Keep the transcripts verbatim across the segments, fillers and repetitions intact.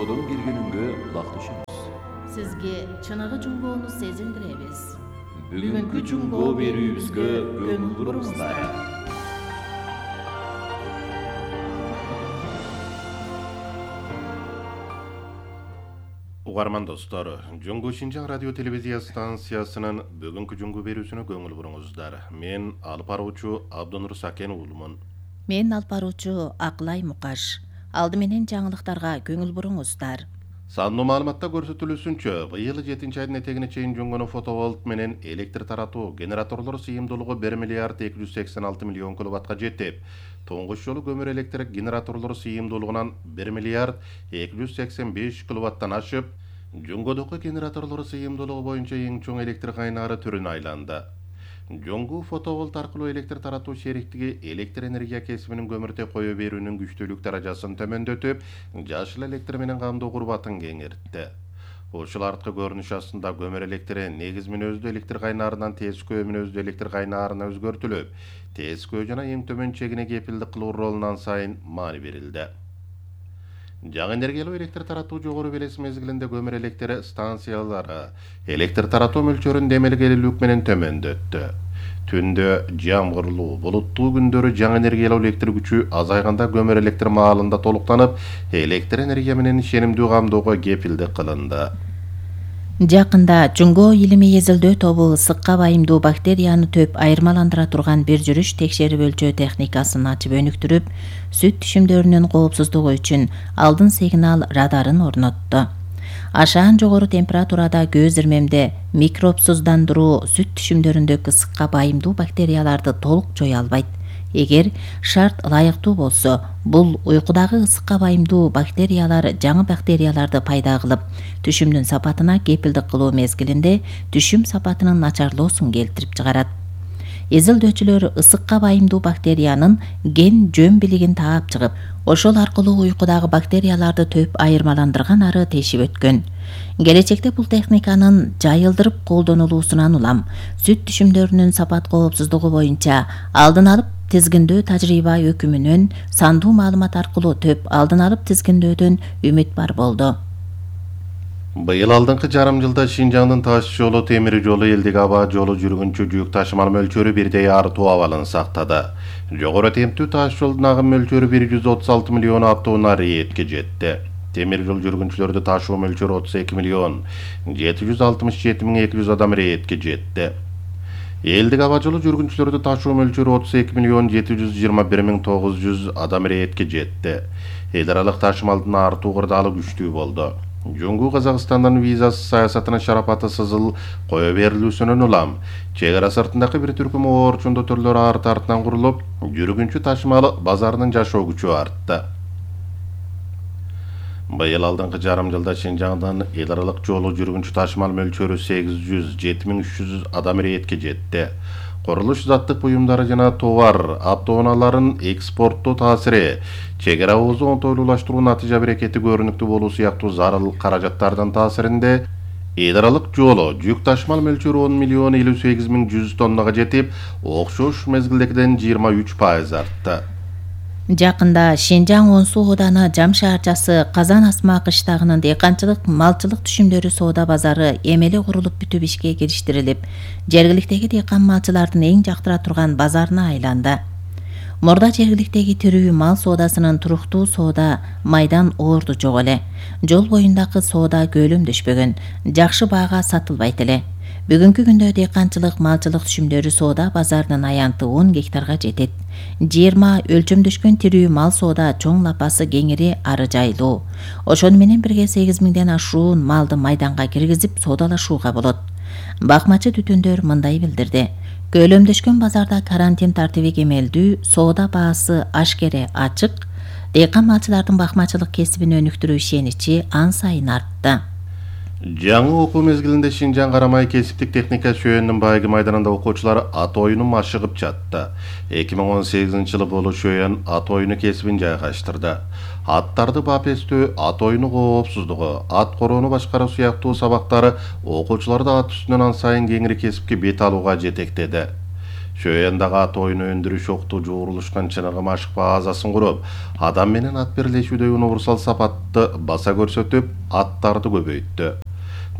жуңгоодон бир күнүнгө улакташабыз. Сизге чыныгы жуңгоону сезиндиребиз. Бүгүнкү жуңгоо берүүбүзгө көңүл буруңуздар. Угарман достор, Жуңгу Шинжаң радио телевизия станциясынын бүгүнкү жуңгу берүүсүнө көңүл буруңуздар. Мен алып баруучу Абдонур Сакен уулумун. Мен алып баруучу Акылай Мукаш. Алды менен жаңылыктарга көңүл буруңуздар. Сандуу маалыматта көрсөтүлүүсүнчө, быйыл жетинчи айдын этегине чейин жуңгону фотоволт менен электр таратуу генераторлор сыйымдуулугу bir миллиард эки жүз сексен алты миллион киловаттка жетип, туңгуч жолу көмүр электр генераторлор сыйымдуулугунан bir миллиард эки жүз сексен беш киловаттан ашып, жуңгодогу генераторлор сыйымдуулугу боюнча эң чоң электр кайнаары түрүнө айланды. Жуңгу фотоволт аркылуу электр таратуу шериктиги электр энергия кесибинин көмүртө кое берүүнүн күчтүүлүк даражасын төмөндөтүп, жашыл электр менен камдоо курбатын кеңейтти. Ушул арткы көрүнүш астында көмүр электри негиз мүнөздүү электр кайнаарынан тескөө мүнөздүү электр кайнаарына өзгөртүлүп, тескөө жана эң төмөн чегине кепилдик кылуу ролунан сайын маани берилди. Жаңы энергиялуу электр таратуу жогору белес мезгилинде көмүр электр станциялары электр таратуу мөлчөрүн демелгелүүлүк менен төмөндөттү. Түндө жамгырлуу, булуттуу күндөрү жаңы энергиялуу электр күчү азайганда көмүр электр маалында толуктанып, электр энергия менен ишенимдүү камдоого кепилдик кылынды. Жакында Жуңгоо илимий эзилдөө тобу ысыкка байымдуу бактерияны төп айырмаландыра турган бир жүрүш текшерип өлчөө техникасын ачып өнүктүрүп, сүт түшүмдөрүнүн коопсуздугу үчүн алдын сигнал радарын орнотту. Ашаан жогору температурада көз ирмемде микробсуздандыруу сүт түшүмдөрүндөгү ысыкка байымдуу бактерияларды толук жоя албайт. Эгер шарт ылайыктуу болсо, бул уйкудагы ысыкка байымдуу бактериялар жаңы бактерияларды пайда кылып, түшүмдүн сапатына кепилдик кылуу мезгилинде түшүм сапатынын начарлоосун келтирип чыгарат. Изилдөөчүлөр ысыкка байымдуу бактериянын ген жөн билигин таап чыгып, ошол аркылуу уйкудагы бактерияларды төп айырмаландырган ары тешип өткөн. Келечекте бул техниканын жайылдырып колдонулуусунан улам сүт түшүмдөрүнүн сапат коопсуздугу боюнча алдын алып тизгиндөө тажрыйба өкүмүнөн сандуу маалымат аркылуу төп алдын алып тизгиндөөдөн үмүт бар болду. Быйыл алдыңкы жарым жылда Шинжаңдын таш жолу, темир жолу, элдик аба жолу жүргүнчү жүк ташымал мөлчөрү бирдей артуу абалын сактады. Жогору темптүү таш жолдун агым мөлчөрү bir жүз отуз алты миллион автоунаа рейетке жетти. Темир жол жүргүнчүлөрдү ташуу мөлчөрү отуз эки миллион жети жүз алтымыш жети миң эки жүз адам рейетке жетти. Элдик аба жолу жүргүнчүлөрдү ташуу мөлчөрү отуз эки миллион жети жүз жыйырма бир миң тогуз жүз адам рейетке жетти. Эл аралык ташымалдын артуу кырдаалы күчтүү болду. Жуңгу Казакстандын визасыз саясатынын шарапаты сызыл кое берилүүсүнөн улам, чек ара сыртындагы бир түркүм оорчундуу төрлөр арты артынан курулуп, жүргүнчү ташымал базарынын жашоо күчү артты. Быйыл алдыңкы жарым жылда Шинжаңдын эл аралык жолу жүргүнчү ташымал мөлчөрү сегиз жүз жети миң үч жүз адам рейетке жетти. Курулуш заттык буюмдары жана товар автоунааларын экспорттоо таасири, чек ара оозу оңтойлуулаштыруу натыйжа берекети көрүнүктүү болуу сыяктуу зарыл каражаттардын таасиринде эл аралык жолу жүк ташымал мөлчөрү он миллион элүү сегиз миң жүз тоннага жетип, окшош мезгилдегиден жыйырма үч пайыз артты. Жакында Шинжаң он суу ооданы Жам шаарчасы Казан Асма кыштагынын дыйканчылык малчылык түшүмдөрү соода базары эмеле курулуп бүтүп ишке кириштирилип, жергиликтеги дыйкан малчылардын эң жактыра турган базарына айланды. Мурда жергиликтеги тирүү мал соодасынын туруктуу соода майдан оорду жок эле. Жол боюндагы соода көлөмдөшпөгөн, жакшы баага сатылбайт эле. Бүгүнкү күндө дыйканчылык малчылык түшүмдөрү соода базарынын аянты он гектарга жетет. жыйырма өлчөмдөшкөн тирүү мал соода чоң лапасы кеңири ары жайлуу. Ошону менен бирге сегиз миңден ашуун малды майданга киргизип соодалашууга болот. Бакмачы түтүндөр мындай билдирди. Көлөмдөшкөн базарда карантин тартиби кемелдүү, соода баасы ашкере ачык, дыйкан малчылардын бакмачылык кесибин өнүктүрүү ишеничи ан сайын артты. Жаңы окуу мезгилинде Шинжаң Карамай кесиптик техника шөөнүнүн байыгы майданында окуучулар ат оюну машыгып жатты. эки миң он сегизинчи жылы болу шөөн ат оюну кесибин жайгаштырды. Аттарды бап эстөө, ат оюну коопсуздугу, ат короону башкаруу сыяктуу сабактары окуучуларды ат үстүнөн ан сайын кеңири кесипке бет алууга жетектеди. Шөйендагы ат оюну өндүрүш окту жуурулушкан чыныгы машык базасын куруп, адам менен ат бирлешүүдө универсал сапатты баса көрсөтүп, аттарды көбөйттү.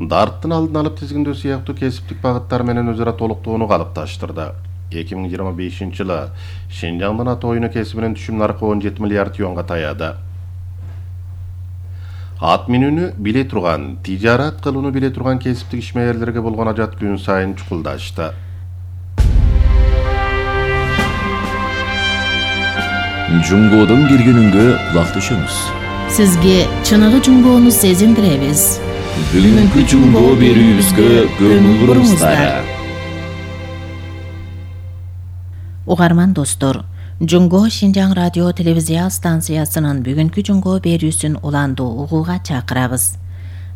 Дарттын алдын алып тизгиндөө сыяктуу кесиптик багыттар менен өз ара толуктоону калыпташтырды. эки миң жыйырма бешинчи жылы Шинжаңдын ат оюну кесибинин түшүм наркы он жети миллиард юанга таяды. Ат минүүнү биле турган, тижарат кылууну биле турган кесиптик ишмерлерге болгон ажат күн сайын чукулдашты. Жунгодон келгениңге кулакташабыз. Сизге чыныгы жунгоону сезиндиребиз. Бүгүнкү жунгоо берүүбүзгө көңүл буруңуздар. Угарман достор, Жунгоо Шинжаң радио телевизия станциясынын бүгүнкү жунгоо берүүсүн уланду угууга чакырабыз.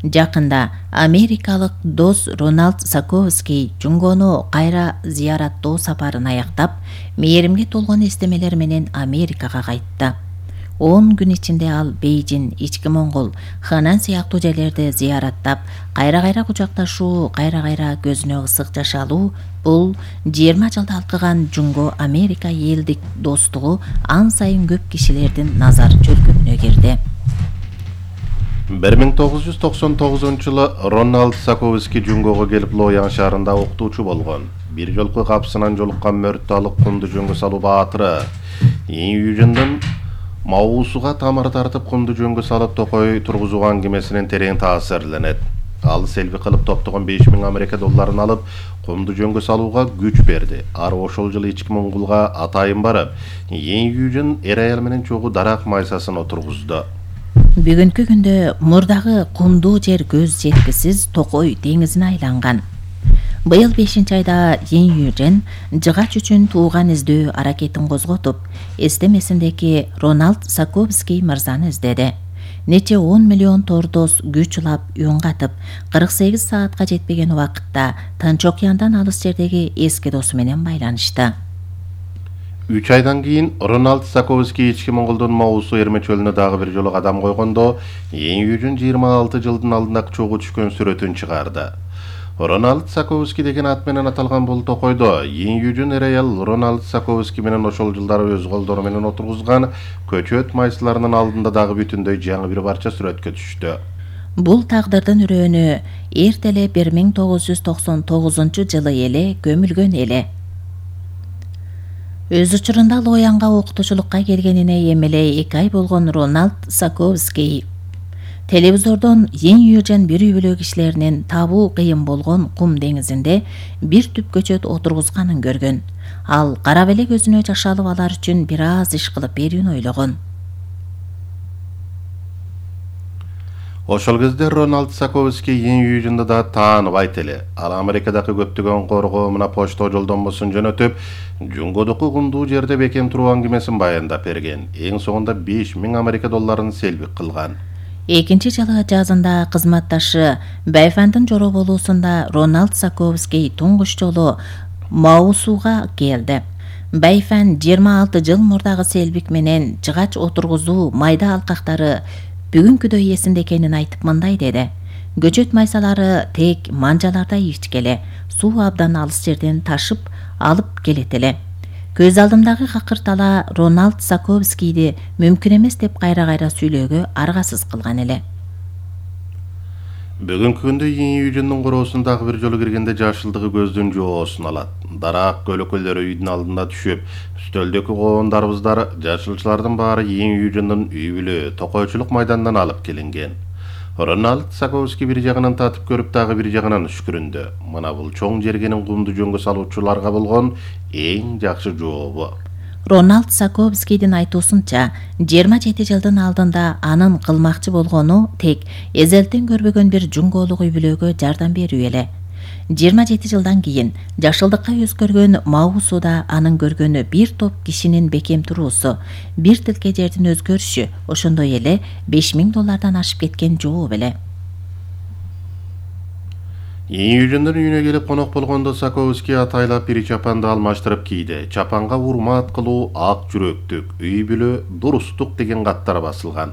Жакында америкалык дос Рональд Саковский жунгоону кайра зыяраттоо сапарын аяктап, мээримге толгон эстемелер менен Америкага кайтты. он күн ичинде ал Бейжин, Ички Моңгол, Ханан сыяктуу жерлерди зыяраттап, кайра-кайра кучакташуу, кайра-кайра көзүнө ысык жаш алуу бул жыйырма жылда алкыган жунгоо Америка элдик достугу ан сайын көп кишилердин назар чөлкөмүнө кирди. бир миң тогуз жүз токсон тогузунчу жылы Рональд Саковский жунгоого келип Лоян шаарында окутуучу болгон. Бир жолку капсынан жолуккан мөрттү алып кумду жөнгө салуу баатыры Июжиндин Маусуга тамыр тартып кумду жөнгө салып токой тургузууга аңгемесинен терең таасирленет. Ал селби кылып топтогон беш миң Америка долларын алып кумду жөнгө салууга күч берди. Ар ошол жылы Ички Моңголго атайын барып, Июжин эр аял менен чогуу дарак майсасын отургузду. Бүгүнкү күндө мурдагы кумдуу жер көз жеткисиз Токой деңизине айланган. Быйыл бешинчи айда Июжин жыгач үчүн тууган издөө аракетин козготуп, эстемесиндеги Рональд Саковский мырзаны издеди. Нече он миллион тордос күч улап үн-катып, кырк сегиз саатка жетпеген убакытта Тынч океандан алыс жердеги эски досу менен байланышты. үч айдан кийин Рональд Саковский Ички Моңголдун Маусу Эрме чөлүнө дагы бир жолу кадам койгондо, Июжин жыйырма алты жылдын алдында чогуу түшкөн сүрөтүн чыгарды. Рональд Саковский деген ат менен аталган бул токойдо Июжин эр аял Рональд Саковский менен ошол жылдары өз колдору менен отургузган көчөт майсыларынын алдында дагы бүтүндөй жаңы бир парча сүрөткө түштү. Бул тагдырдын үрөөнү эрт эле бир миң тогуз жүз токсон тогузунчу жылы эле көмүлгөн эле. Өз учурунда Лоянга окутуучулукка келгенине эми эле эки ай болгон Рональд Саковский телевизордон Июжин бир үй бүлө кишилеринин табуу кыйын болгон кум деңизинде бир түп көчөт отургузганын көргөн. Ал карап эле көзүнө жаш алып алар үчүн бир аз иш кылып берүүнү ойлогон. Ошол кезде Рональд Саковский Июжинди да тааныбайт эле. Ал Америкадагы көптөгөн коргоо мына почто жолдонмосун жөнөтүп, жунгодуку кумдуу жерде бекем туруу аңгемесин баяндап берген. Эң соңунда беш миң Америка долларын селбик кылган. Экинчи жылы жазында кызматташы Байфандын жороболуусунда Рональд Саковский туңгуч жолу Маусуга келди. Байфан жыйырма алты жыл мурдагы селбик менен жыгач отургузуу майда алкактары бүгүнкүдөй эсинде экенин айтып мындай деди. Көчөт майсалары тек манжаларда ичкеле, суу абдан алыс жерден ташып алып келет эле. Көз алдымдагы какыртала Рональд Саковскийди мүмкүн эмес деп кайра-кайра сүйлөөгө аргасыз кылган эле. Бүгүнкү күндө Июжиндин короосундагы бир жолу киргенде жашылдыгы көздүн жоосун алат. Дарак көлөкөлөрү үйдүн алдында түшүп, стөлдөгү коондарыбыздар, жашылчылардын баары Июжиндин үй бүлө токойчулук майданынан алып келинген. Рональд Саковский бир жагынан татып көрүп, дагы бир жагынан үшкүрүндү. Мына бул чоң жергенин кумду жөнгө салуучуларга болгон эң жакшы жообу. Рональд Саковскийдин айтуусунча, жыйырма жети жылдын алдында анын кылмакчы болгону тек эзелтен көрбөгөн бир жунгоолук үй бүлөгө жардам берүү эле. жыйырма жети жылдан кийин жашылдыкка өзгөргөн Маусуда анын көргөнү бир топ кишинин бекем туруусу, бир тилке жердин өзгөрүшү, ошондой эле беш миң доллардан ашып кеткен жооп эле. Июжиндин үйүнө келип конок болгондо Саковский атайлап бир чапанды алмаштырып кийди. Чапанга урмат кылуу, ак жүрөктүк, үй бүлө, дурустук деген каттар басылган.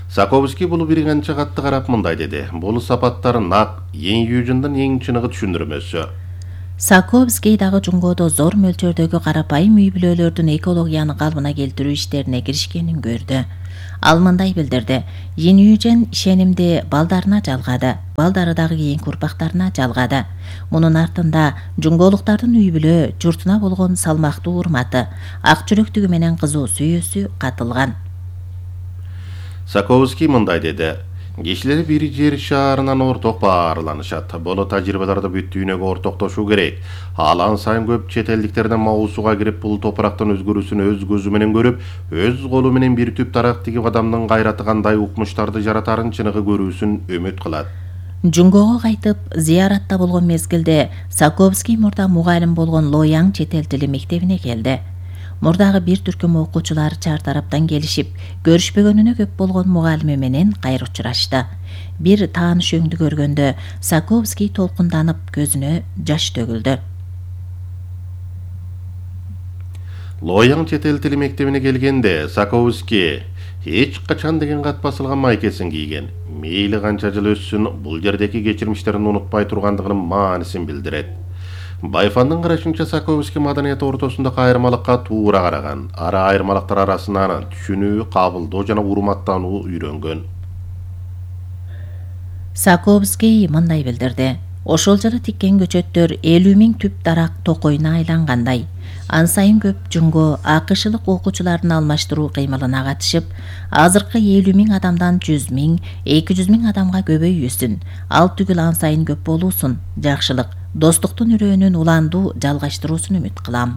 Саковский бул бир канча катты карап мындай деди. Бул сапаттар нак Июжиндин эң чыныгы түшүндүрмөсү. Саковский дагы Жунгодо зор мөлчөрдөгү карапайым үй бүлөлөрдүн экологияны калыбына келтирүү иштерине киришкенин көрдү. Ал мындай билдирди: Йинюжен ишенимди балдарына жалгады, балдары дагы кийинки урпактарына жалгады. Мунун артында жунголуктардын үй бүлө журтуна болгон салмактуу урматы, ак жүрөктүгү менен кызуу сүйүүсү катылган. Саковский мындай деди: кишилер бир жер шаарынан орток баарланышат. Боло тажрыйбаларды бүт дүйнөгө ортоктошуу керек. Алан сайын көп чет элдиктерден мабусуга кирип, бул топурактын өзгөрүүсүн өз көзү менен көрүп, өз колу менен бир түп дарак тигип адамдын кайраты кандай укмуштарды жаратарын чыныгы көрүүсүн үмүт кылат. Жунгого кайтып зыяратта болгон мезгилде Саковский мурда мугалим болгон Лояң чет эл тили мектебине келди. Мурдагы бир түркүм окуучулар чар тараптан келишип, көрүшпөгөнүнө көп болгон мугалими менен кайра учурашты. Бир тааныш өңдү көргөндө Саковский толкунданып, көзүнө жаш төгүлдү. Лояң чет эл тили мектебине келгенде Саковский эч качан деген кат басылган майкесин кийген. Мейли канча жыл өссүн, бул жердеки кечирмиштерин унутпай тургандыгынын маанисин билдирет. Байфандын карашынча Саковский маданият ортосундагы айырмалыкка туура караган. Ара айырмалыктар арасынан түшүнүү, кабылдоо жана урматтануу үйрөнгөн. Саковский мындай билдирди: ошол жылы тиккен көчөттөр элүү миң түп дарак токойуна айлангандай. Ан сайын көп жунго акышылык окуучулардын алмаштыруу кыймылына катышып, азыркы элүү миң адамдан жүз миң, эки жүз миң адамга көбөйүүсүн, ал түгүл ан сайын көп болуусун, жакшылык, достуктун үрөөнүн уландуу жалгаштыруусун үмүт кылам.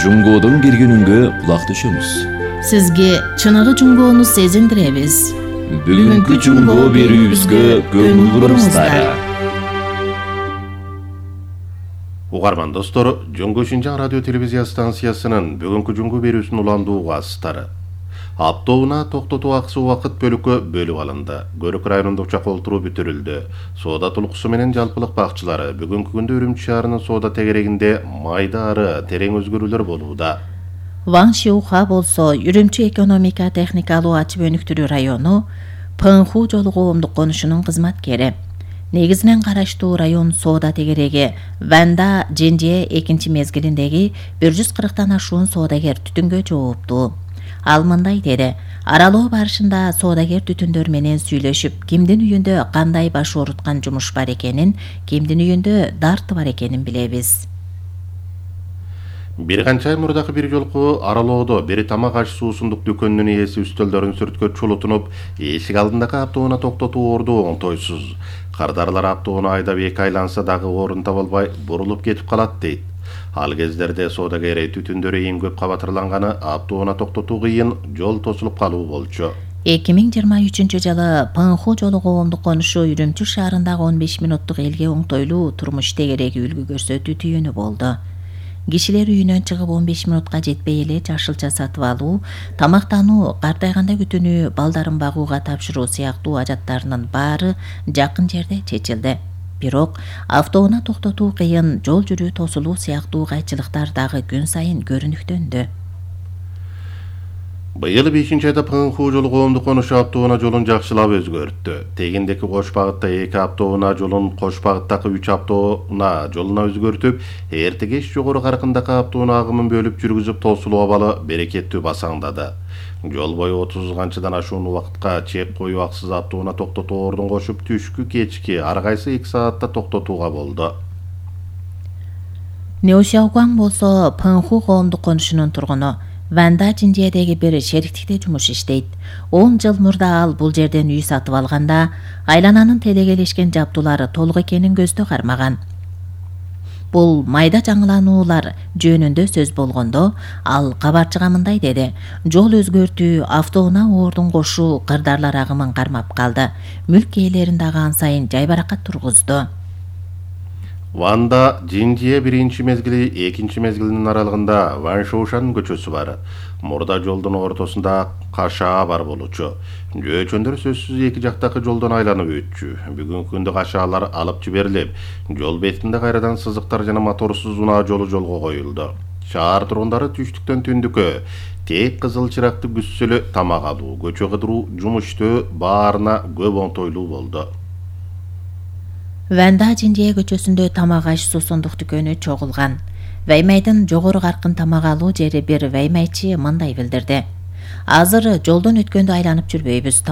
Жунгодон киргенүнгө кулак түшөмүз. Сизге чыныгы жунгоону сезиндиребиз. Бүгүнкү жунго берүүбүзгө көңүл буруңуздар. Угарман достор, Жунгу Шинжаң радио телевизия станциясынын бүгүнкү жунгу берүүсүн уландуу астары. Аптоуна токтотуу акысы убакыт бөлүккө бөлүп алынды. Көрүк районунда учак олтуруу бүтүрүлдү. Соода тулкусу менен жалпылык бакчылары бүгүнкү күндө Үрүмчү шаарынын соода тегерегинде майда ары терең өзгөрүүлөр болууда. Ван Шиуха болсо Үрүмчү экономика техникалуу ачып өнүктүрүү району Пыңху жолу коомдук конушунун кызматкери. Негизинен караштуу район соода тегереги Ванда Женжие экинчи мезгилиндеги бир жүз кырктан ашуун соодагер түтүнгө жооптуу. Ал мындай деди: аралоо барышында соодагер түтүндөр менен сүйлөшүп, кимдин үйүндө кандай баш ооруткан жумуш бар экенин, кимдин үйүндө дарты бар экенин билебиз. Бир канча ай мурдагы бир жолку аралоодо бир тамак аш суусундук дүкөнүнүн ээси үстөлдөрүн сүрткө чулутунуп, эшик алдындагы аптоуна токтотуу орду оңтойсуз. Кардарлар аптоуну айдап эки айланса дагы орун таба албай бурулуп кетип калат дейт. Ал кездерде соодагер түтүндөрү эң көп кабатырланганы аптоуна токтотуу кыйын, жол тосулуп калуу болчу. эки миң жыйырма үчүнчү жылы Пыңху жолу коомдук конушу Үрүмчү шаарындагы он беш мүнөттүк элге оңтойлуу турмуш тегереги үлгү көрсөтүү түйүнү болду. Кишилер үйүнөн чыгып он беш мүнөткө жетпей эле жашылча сатып алуу, тамактануу, картайганда күтүнүү, балдарын багууга тапшыруу сыяктуу ажаттарынын баары жакын жерде чечилди. Бирок автоуна токтотуу кыйын, жол жүрүү тосулуу сыяктуу кайчылыктар дагы күн сайын көрүнүктөндү. Быйыл бешинчи айда Пыңху жолу коомдук конушу аптоуна жолун жакшылап өзгөрттү. Тегиндеки кош багытта эки аптоуна жолун кош багыттагы үч аптоуна жолуна өзгөртүп, эртегеш жогору каркындагы аптоуна агымын бөлүп жүргүзүп тосулуу абалы берекеттүү басаңдады. Жол бою отуз канчадан ашуун убакытка чек коюу аксыз аптоуна токтотуу ордун кошуп, түшкү кечки ар кайсы эки саатта токтотууга болду. Неошауган болсо Пыңху коомдук конушунун тургуну. Ванда Женжиедеги бир шериктикте жумуш иштейт. он жыл мурда ал бул жерден үй сатып алганда, айлананын телегелешкен жабдуулары толук экенин көздө кармаган. Бул майда жаңылануулар жөнүндө сөз болгондо, ал кабарчыга мындай деди: жол өзгөртүү, автоуна ордун кошуу кырдарлар агымын кармап калды. Мүлк ээлерин дагы ан сайын жайбаракат тургузду. Ванда Женжие биринчи мезгили, экинчи мезгилинин аралыгында Ван Шоушан көчөсү бар. Мурда жолдун ортосунда кашаа бар болчу. Жөөчөндөр сөзсүз эки жактагы жолдон айланып өтчү. Бүгүнкү күндө кашаалар алып жиберилип, жол бетинде кайрадан сызыктар жана моторсуз унаа жолу жолго коюлду. Шаар тургундары түштүктөн түндүккө тек кызыл чыракты күзсөлө тамак алуу, көчө кыдыруу, жумуштөө баарына көп оңтойлуу болду. Ванда Жинжие көчөсүндө тамак аш суусундук дүкөнү чогулган. Ваймайдын жогору каркын тамак алуу жери бир ваймайчы мындай билдирди: Азыр жолдон өткөндө айланып жүрбөйбүз.